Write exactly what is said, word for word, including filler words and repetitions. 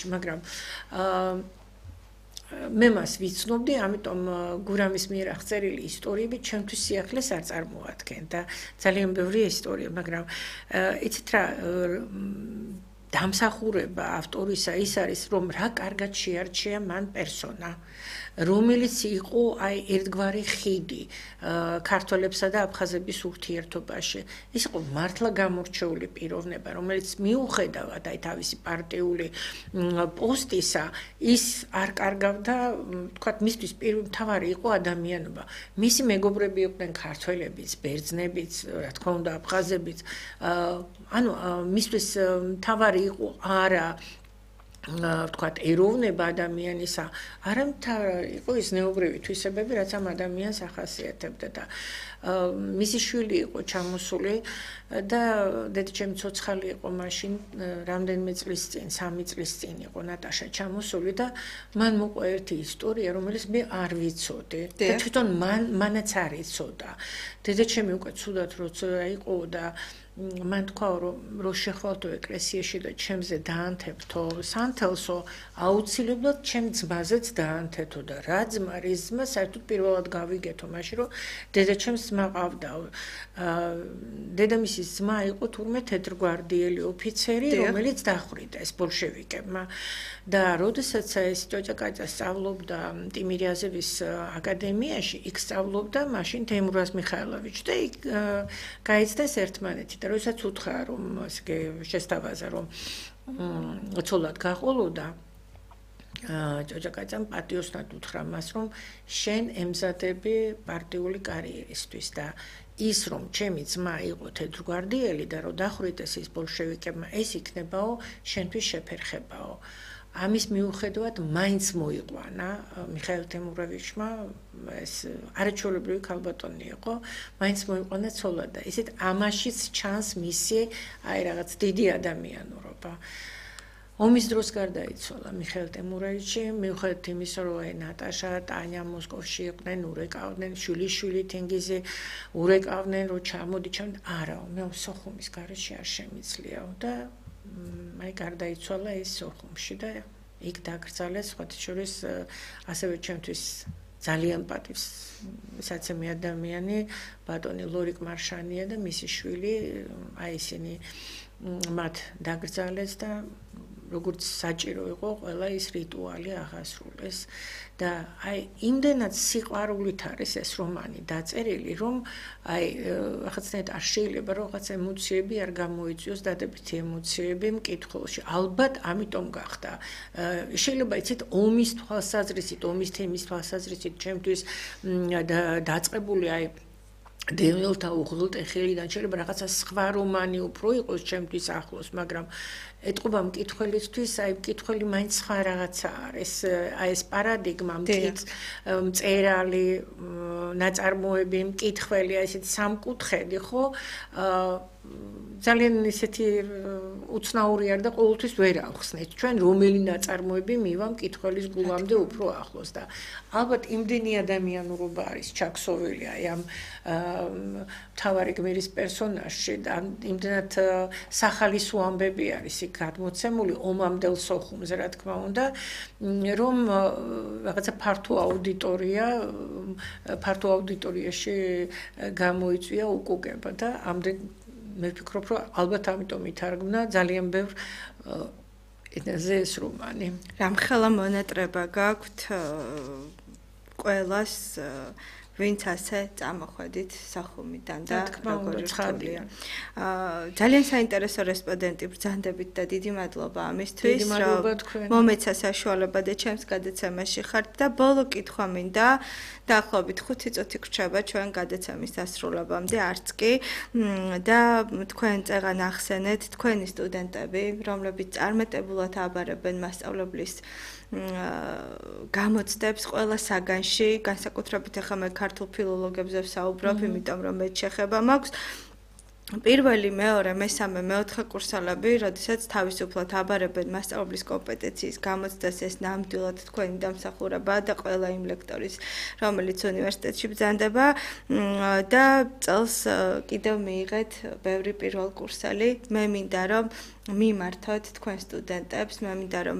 სიახლეში, მაგრამ აა მე მას ვიცნობდი, ამიტომ გურამის მიერ აღწერილი ისტორიები ჩემთვის სიახლეს არ წარმოადგენდა და ძალიან ბევრი ისტორია, მაგრამ იცით რა დამსახურება ავტორისა ის არის, რომ რა კარგად შეარჩია მან პერსონა, რომელიც იყო აი ერთგვარი ხიდი ქართველებსა და აფხაზების ურთიერთობაში. ის იყო მართლა გამორჩეული პიროვნება, რომელიც მიუხედავად აი თავისი პარტიული პოსტისა, ის არ კარგავდა, თქვათ, მისთვის მთავარი იყო ადამიანობა. მისი მეგობრები იყვნენ ქართველებიც, ბერძნებიც, რა თქმა უნდა, აფხაზებიც. ანუ მისთვის მთავარი იყო არა ვთქვათ, ეროვნება ადამიანისა, არამედ იყო ის ზნეობრივი თვისებები, რაც ამ ადამიანს ახასიათებდა და მისი შვილი იყო ჩამოსული და დედაჩემი ცოცხალი იყო მაშინ, რამდენიმე წლის წინ, სამი წლის წინ იყო ნატაშა ჩამოსული და მან მოყვა ერთი ისტორია, რომელიც მე არ ვიცოდი და თვითონ მან მანაც არ იცოდა. დედაჩემი უკვე ცუდად როცა იყო და მან თქვა რომ რო შეხვალთო ეკლესიაში და ჩემზე დაანთებთო სანთელსო აუცილებლად ჩემ ძმაზეც დაანთეთო და რა ძმა რის ძმა საერთოდ პირველად გავიგეთო მაშინ რომ დედაჩემს ძმა ყავდა დედამისის ძმა იყო თურმე თეთრგვარდიელი ოფიცერი რომელიც დახვრიტეს ბოლშევიკებმა და როდესაც ეს ჭოჭაკაძე სწავლობდა ტიმირიაზევის აკადემიაში იქ სწავლობდა მაშინ თეიმურაზ მიხაილოვიჩი და იქ გაიცნეს ერთმანეთი და როდესაც უთხრა რომ ესე შესთავაზა რომ ცოლად გაყოლოდა ჭოჭაკაძემ პატიოსნად უთხრა მას რომ შენ ემზადები პარტიული კარიერისთვის და ის რომ ჩემი ძმა იყო თეთრგვარდიელი და რომ დახვრიტეს ის ბოლშევიკებმა ეს იქნებაო შენთვის შეფერხებაო ამის მიუხედავად მაინც მოიყვანა მიხაილ თემუროვიჩმა ეს არაჩვეულებრივი ქალბატონი იყო მაინც მოიყვანა ცოლად და ისეთ ამაშიც ჩანს მისი აი რაღაც დიდი ადამიანურობა ომის დროს გარდაიცვალა მიხაილ თემუროვიჩი მიუხედავად იმისა რომ აი ნატაშა ტანია მოსკოვში იყვნენ ურეკავდნენ შვილიშვილი თენგიზი ურეკავდნენ რომ ჩამოდი ჩამ არაო მე სოხუმის გარეშე არ შემიძლიაო და აი გარდაიცვალა ის სოხუმში და იქ დაკრძალეს სხვათა შორის ასევე ჩემთვის ძალიან პატივს საცემი ადამიანი ბატონი ლორიკ მარშანია და მისი შვილი აი ისინი მათ დაკრძალეს და როგორც საჭირო იყო ყველა ის რიტუალი აღასრულეს და აი იმდენად სიყვარულით არის ეს რომანი დაწერილი რომ აი რაღაცნაირად არ შეიძლება რომ რაღაც ემოციები არ გამოიწვიოს დადებითი ემოციები მკითხველში ალბათ ამიტომ გახდა შეიძლება იცით ომის თვალსაზრისით ომის თემის თვალსაზრისით ჩემთვის დაწყებული აი დევნილთა უღლუტე ხელიდან შეიძლება რაღაცა სხვა რომანი უფრო იყოს ჩემთვის ახლოს მაგრამ ეთყობა მკითხველისთვის აი მკითხველი მაინც სხვა რაღაცა არის აი ეს პარადიგმა მწერალი ნაწარმოები მკითხველი აი ესეთი სამკუთხედი ხო ძალიან ისეთი უცნაური არ და ყოველთვის ვერ ახსნით ჩვენ რომელი ნაწარმოები მივა მკითხველის გულამდე უფრო ახლოს და ალბათ იმდენი ადამიანურობა არის ჩაქსოვილი აი ამ მთავარი გმირის პერსონაჟში და იმდენად სახალისო ამბები არის იქ გადმოცემული ომამდელ სოხუმზე რა თქმა უნდა რომ რაღაცა ფართო აუდიტორია ფართო აუდიტორიაში გამოიწვია უკუგება და ამდენ მე ვფიქრობ რომ ალბათ ამიტომ ითარგმნა ძალიან ბევრ ენაზე ეს რომანი რამხელა მონატრება გაქვთ ყველას ვინც ასე წამოხვედით სახუმიდან და როგორი ხარდია. ძალიან საინტერესო რესპონდენტი ბრძანდებით და დიდი მადლობა ამისთვის, რომ მომეცა საშუალება და ჩემს გადაცემაში ხართ და ბოლო კითხვა მინდა დაახლოებით ხუთი წუთი გრჩება ჩვენ გადაცემის დასრულებამდე არც კი და თქვენ წეღან ახსენეთ თქვენი სტუდენტები, რომლებიც წარმეტებულად აბარებენ მასწავლებლის გამოცდებს ყველა საგანში, განსაკუთრებით ახლა მე ქართულ ფილოლოგებზე ვსაუბრობ, იმიტომ რომ მე შეხება მაქვს პირველი, მეორე, მესამე, მეოთხე კურსელები, როდესაც თავისუფლად აბარებენ მასწავლებლის კომპეტენციის გამოცდას, ეს ნამდვილად თქვენი დამსახურებაა და ყველა იმ ლექტორის, რომელიც უნივერსიტეტში ბრძანდება და წელს კიდევ მიიღეთ ბევრი პირველ კურსელი. მე მინდა რომ მიმართოთ თქვენ სტუდენტებს, მე მინდა რომ